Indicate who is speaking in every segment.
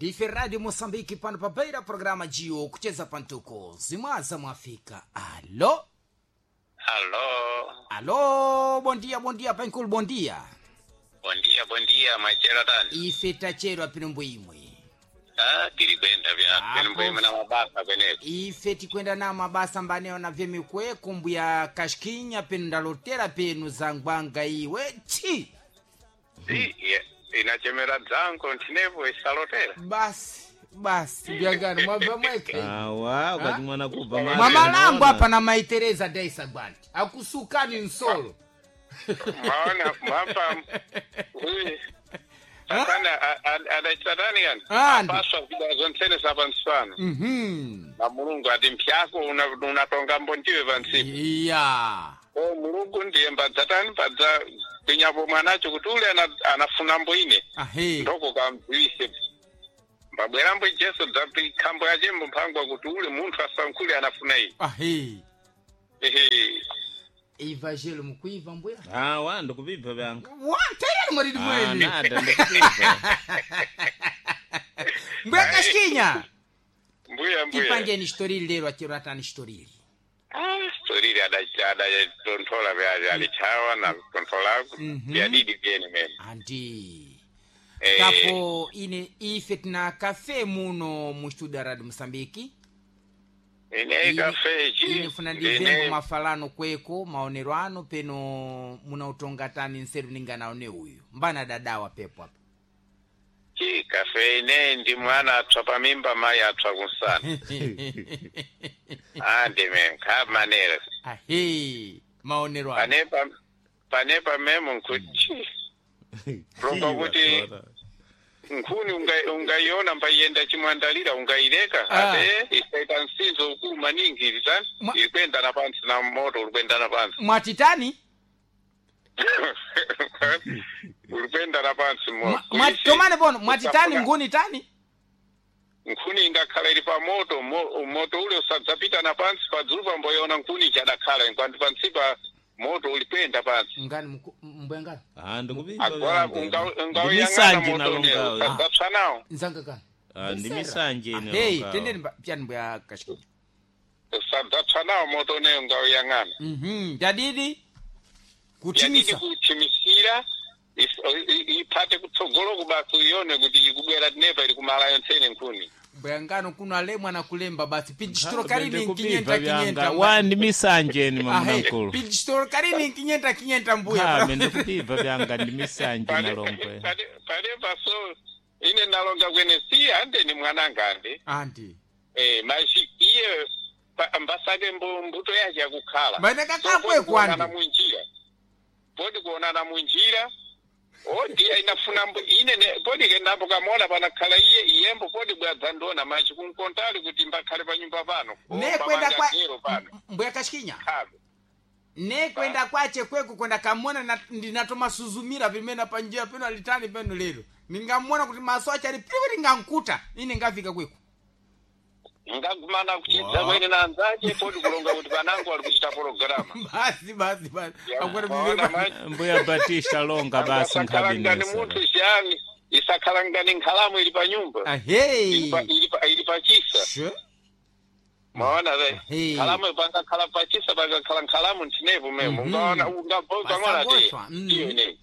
Speaker 1: Ndife Radio Moçambique pano pabeira programa Gio kucheza pantuko zimwaza mwafika. Alo.
Speaker 2: Alô,
Speaker 1: Alo, bom dia, bom dia pankulu, bom dia.
Speaker 2: bom dia, bom dia, machero tani.
Speaker 1: Ife tachero apino imwe.
Speaker 2: Ah, tiri kwenda vya
Speaker 1: Apo.
Speaker 2: kwenu mbwe na mabasa kweneko.
Speaker 1: Ife tikwenda na mabasa mbaneo na vyemikwe kumbuya kashkinya penu ndalotera penu zangwanga iwe chi.
Speaker 2: Si, inachemera dzango ntinepo isalotera.
Speaker 1: Basi basi byangano mwabva mweke.
Speaker 3: Awa ukachimwana kubva
Speaker 1: Mwamalambo apa na maitereza daisa gwanti akusukani nsolo.
Speaker 2: Maona mwapa uyi Satani adachisatani kani?
Speaker 1: Ah, ndi.
Speaker 2: Apaswa vida zontsene sapansipano. Na Mulungu ati mphyako unatonga mbondiwe pansipo.
Speaker 1: Iya.
Speaker 2: O Mulungu ndiye mbadzatani mbadza kwinyapo mwanacho kuti ule anafuna mbo ine.
Speaker 1: Ahe.
Speaker 2: Ndoko kamdziwise mbabwerambo Jesu dzapikhambo yachembo mphangwa kuti ule munthu asankhule anafuna iyi.
Speaker 1: Ahe.
Speaker 2: Ehe.
Speaker 1: Evangelo mukuiva mbuya.
Speaker 3: Awa ndikupibva vyanga.
Speaker 1: Wa tayari mwaridi
Speaker 3: Ah,
Speaker 1: mwene.
Speaker 3: nada ndikupibva.
Speaker 1: Mbuya kashkinya.
Speaker 2: Mbuya mbuya.
Speaker 1: Tipangeni shitorili lero achero atani shitorili.
Speaker 2: Ah, storili adatonthola vyaje alichawa na kutontholako vyadidi vyene mene.
Speaker 1: Andi.
Speaker 2: Eh,
Speaker 1: Kapo ine ife tina kafe muno mu studio ya Radio Mosambiki.
Speaker 2: Ine kafe chi
Speaker 1: Ine funa ndivembo mafalano kweko maonero ano peno munautonga tani nseru ninganaone uyu. Mbana dadawa pepo apa.
Speaker 2: Chi kafe ine ndi mwana atswa pamimba mayi atswa kunsana. Ah, ndime nkha manera.
Speaker 1: Ahe. Maonero ano.
Speaker 2: Panepa panepa memo nkuti Longa kuti nkhuni ungaiona mbaiyenda chimwandalira ungaileka.
Speaker 1: Ah.
Speaker 2: Ate isaita msinzo ukulu maningi ilitani ilikwendana pantsi na moto ulikwendana pantsi.
Speaker 1: Mwatitani?
Speaker 2: Ulikwendana pantsi mo
Speaker 1: Tomane pono mwatitani nguni tani?
Speaker 2: Nkhuni ingakhala ili pa moto moto ule usadzapita na pantsi padzulu pamboyona nkhuni ichadakhala nkwandi pantsi pa moto ulikwenda pantsi.
Speaker 1: Ngani mbuya ngani?
Speaker 3: Ah, ndikupibva
Speaker 2: Agora
Speaker 3: vyanga.
Speaker 2: ungauyang'ana
Speaker 3: Ndimisanje
Speaker 2: moto une
Speaker 3: nalongawe.
Speaker 2: usadzapsa nawo.
Speaker 1: Nzanga kani?
Speaker 3: Ah, ndimisanje ine
Speaker 1: Hey,
Speaker 3: longawe.
Speaker 1: tendeni pyani mbuya kashkinya.
Speaker 2: Usadzapsa nawo moto une ungauyang'ana.
Speaker 1: Jadidi
Speaker 2: Yadidi
Speaker 1: kutimisa.
Speaker 2: kuchimisira ipate kutsogolo kubasi uione kuti ikubwera tinepa ili kumala yontsene nkhuni.
Speaker 1: Mbuya ngano kuno alemwa na kulemba basi pijistoro
Speaker 3: Ah,
Speaker 1: karini
Speaker 3: ndikupibva
Speaker 1: nkinyenta
Speaker 3: vyanga.
Speaker 1: kinyenta.
Speaker 3: Wa ndimisanje ine
Speaker 1: Ahe,
Speaker 3: mamunakulu.
Speaker 1: pijistoro karini nkinyenta kinyenta mbuya.
Speaker 3: Kame ndikupibva vyanga ndimisanje nalongwe.
Speaker 2: Panepa so ine nalonga kwene si ande ni mwananga ande.
Speaker 1: Andi.
Speaker 2: Eh, mashi iye mbasake mbuto yache yakukhala.
Speaker 1: Mbane
Speaker 2: So,
Speaker 1: kakakwe
Speaker 2: podi kuonana
Speaker 1: kwandi.
Speaker 2: munjira. Podi kuonana munjira. O ndiye inafuna ine podi kendambo kamona panakhala iye iyembo podi bwadza ndona machi kunkontali kuti mbakhale pa nyumba pano. O,
Speaker 1: Ne kwenda kwa
Speaker 2: mbamanga zero pano.
Speaker 1: mbuya kashkinya.
Speaker 2: Khabe.
Speaker 1: Ne kwenda kwache kweko kwenda kamona ndinatomasuzumira pimene panjira peno alitani peno lero. Ningamona kuti maso ache ali pipi ningankuta ine ngafika kweko.
Speaker 2: Ngagumana kuchidza kwene na anzache podi kulonga kuti panango ali kuchita pologirama.
Speaker 1: Basi basi basi.
Speaker 2: Ya,
Speaker 1: Akwera
Speaker 2: maona
Speaker 1: pimene.
Speaker 2: machi.
Speaker 3: Mbuya Batista longa basi
Speaker 2: Isakhala ngani
Speaker 3: nkhabinesa.
Speaker 2: munthu chiyani isakhala ngani nkhalamu ili pa nyumba.
Speaker 1: Ahe.
Speaker 2: Ili pa chisa.
Speaker 1: Sure.
Speaker 2: Maona ve.
Speaker 1: Hey.
Speaker 2: Nkhalamu pangakhala pachisa pangakhala nkhalamu ntinepo memo. Ungaona ungabona te.
Speaker 1: Pasagotswa,
Speaker 2: Iyo ine.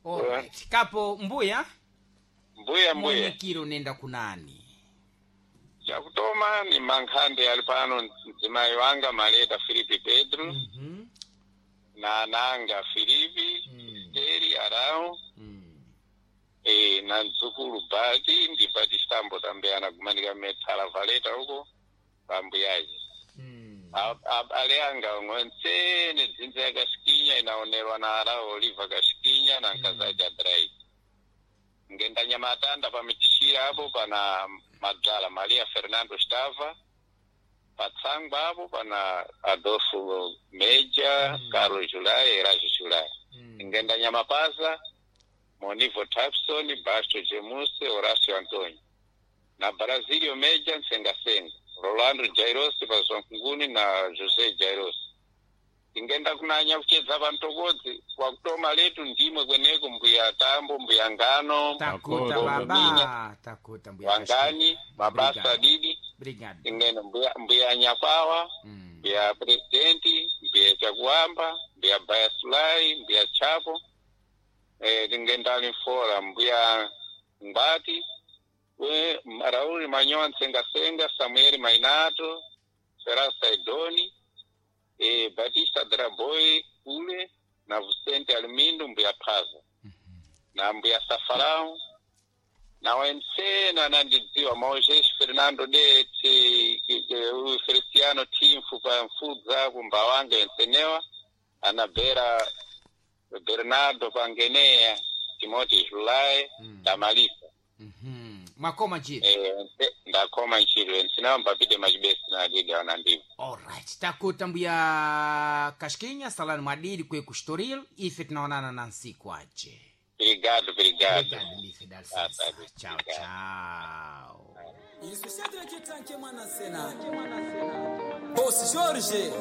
Speaker 1: Alright. Kapo mbuya
Speaker 2: Mbuya mbuya.
Speaker 1: munyikiro nenda kunani.
Speaker 2: Chakutoma ni mankhande ali pano mdzimai wanga Maleta Filipi Pedro na ananga Filipi Esteri Arau na mdzukulu Bati ndi Batisambo tambe anagumanika methala Valeta uko pambuyaje. Ale anga onse dzinza ya Kashikinya inaonerwa na Arau Oliva Kashikinya na nkazaja Drai. Ngenda nyamatanda pamichishira apo pana Madzala Maria Fernando Stava patsangwa apo pana Adolfo Meja Carlos Julai Erajo Julai. Ngenda nyamapaza Monivo Tapson Basto Gemuse Horacio Antonio na Brasilio Meja Nsengasenga Rolando Jairos Pazonkunguni na José Jairos. Tingenda kunanya kuchedza vantokodzi wakutoma letu ndimwe kweneko mbuya tambo mbuya ngano
Speaker 1: Takuta
Speaker 3: Takuta.
Speaker 1: baba, takuta mbuya
Speaker 2: wangani
Speaker 1: Kashkinya.
Speaker 2: mabasa
Speaker 1: Obrigado.
Speaker 2: didi
Speaker 1: Obrigado.
Speaker 2: tingenda mbuya, mbuya nyakwawa mbuya presidenti mbuya chakuamba mbuya bayasulai mbuya chapo tingenda alimfora mbuya ngwati we rauli manyowa nsengasenga samueli mainato ferasa idoni batista draboy kule na vicente alimindo mbuya phaza na mbuya safarao na wensena anandidziwa maojeshi fernando de uyu feliciano timfu pa mfudza kumbawanga ensenewa anabera bernardo pangenea timoti julai damalisa
Speaker 1: Mwakoma njira.
Speaker 2: Ndakoma ntchito ensenewa mbapite machibesi na adidi anandiva.
Speaker 1: Alright, takuta mbuya Kashkinya, salani mwadidi kwe kustoril, ife tunaonana na nsiku aje.
Speaker 2: Obrigado, obrigado.
Speaker 1: Obrigado, mife dá licença.
Speaker 2: Ah, tá.
Speaker 1: Tchau, tchau.
Speaker 4: Isso, Shadrack Tanque Mwana Sena. Boss Jorge.